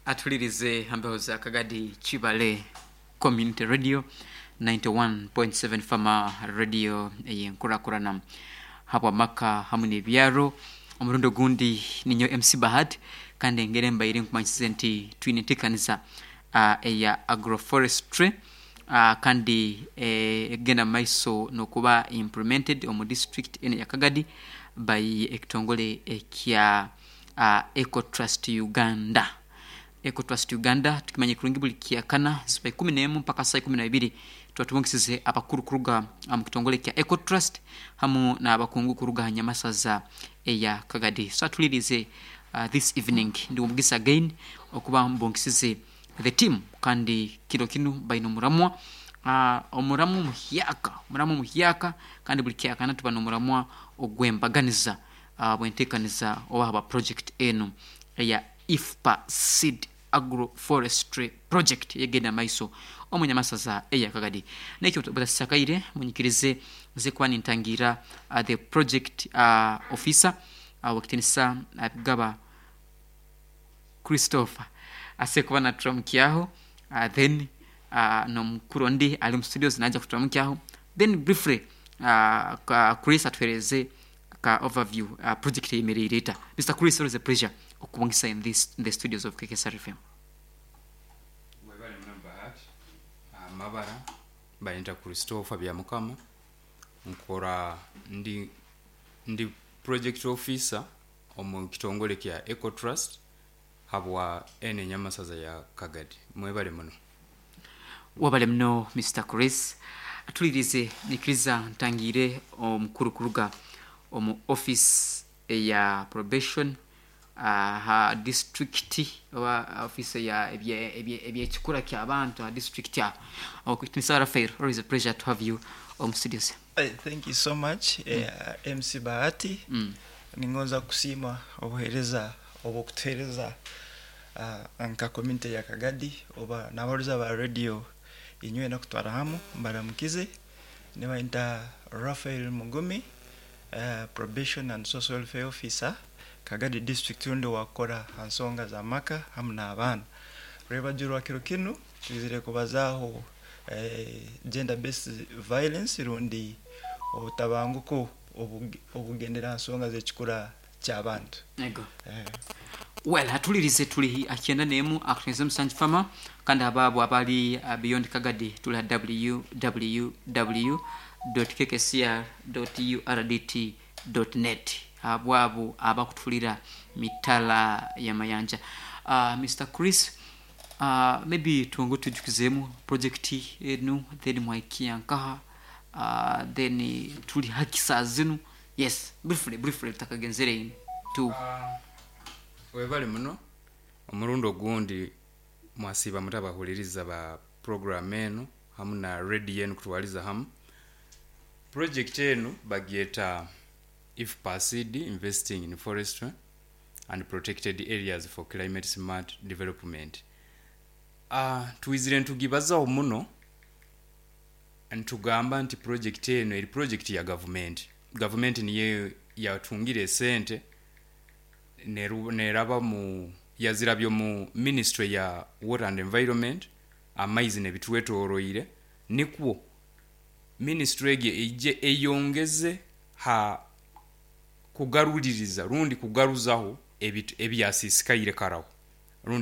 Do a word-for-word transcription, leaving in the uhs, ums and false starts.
Atulirize hambeho za Kagadi Chibale Community Radio ninety-one point seven Fama Radio eyenkurakurana habwa maka hamu n'ebyaro. Omurundi ogundi ninyo M C Bahad, kandi engeri embaire nkumanyisize nti twine enteekaniza uh, eya agroforestry uh, kandi eh, egenda maiso n'okuba implemented omu district eno ya Kagadi by ekitongole ekya uh, Ecotrust Uganda. Ecotrust Uganda tukimanye kurungi buli kyakana ziba ikumi n'emu mpaka saa ikumi na ibiri tuba tubongesize abakuru kuruga mu kitongole kya Ecotrust hamu n'abakungu kuruga ha nyamasaza eya Kagadi. So atulirize uh, this evening ndi omugisa again okuba mbongesize the team, kandi kiro kinu baine omuramwa uh, omuramwa omuhyaka omuramwa omuhyaka kandi buli kyakana tuba n'omuramwa ogw'embaganiza uh, bwenteekaniza oba haba project enu eya I F P A Seed Agroforestry Project yegenda maiso omunyamasaza eya Kagadi. Nekyo butasakaire munyikirize nze kuba nintangira uh, the project uh, officer uh, wakitinisa uh, Gaba Christopher ase kuba naturamukiaho, uh, then uh, nomukuru ondi ali mu studios naja kuturamukiaho, then briefly uh, ka Chris atuhereze ka overview uh, project eyemereire eta. Mister Chris, always a pleasure okubongesa in this in the studios of K K S R F M. Webale muno, Bahati. Amabara bayita Christopher Byamukama, nkora ndi ndi project officer omu kitongole kya Ecotrust habwa ene enyamasaza ya Kagadi. Mwebale muno. Wabale muno, Mister Chris. Atulirize nikiriza ntangire omukuru kuruga omu office eya probation ha district oba office ya ebyekikura ky'abantu ha district aho. Mister Rafael, always a pleasure to have you omu studios. Uh, thank you so much, mm. uh, M C Bahati. mm. Ningonza kusiima obuheereza obwokutuheereza uh, nka community ya Kagadi oba n'abaruza ba radio inywe nakutwara hamu. Mbaramukize, nibayita Rafael Mugumi, uh, probation and social welfare officer, Kagadi District, rundi wakora ha nsonga za maka hamu n'abaana. Rwebagiro kiro kinu twizire kubazaaho eh, gender based violence rundi obutabanguko obugendera ha nsonga z'ekikura ky'abantu. Ego. eh. Well, atulirize tuli akyenda nemu akutenze musanju Fama, kandi abaabo abali uh, beyond Kagadi tuli ha w w w dot k k c r dot u r d t dot net abwabo abakutulira mitala ya mayanja. uh, Mister Chris, uh, maybe tuongo tujukizeemu project enu, then mwaikia nkaha, uh, then tuli haki saa zinu. Yes, briefly briefly tutakagenzere tu. Webale muno omurundi ogundi. Mwasiiba mutabahuliriza ba program eno hamu na radio enu kutwaliza hamu. Project enu bagyeta I F P A Seed, Investing in Forestry and Protected Areas for Climate Smart Development. uh, twizire ntugibazaho muno ntugamba nti project eno eri project ya gavumenti. Gavumenti niyo yatungire esente neru- neraba mu yazirabyo mu ministry ya Water and Environment, amaizi nebitwetoroire, nikwo ministry egyo ejje eyongeze ha kugaruliriza rundi kugaruzaho ebitu- ebyasisikaire karaho.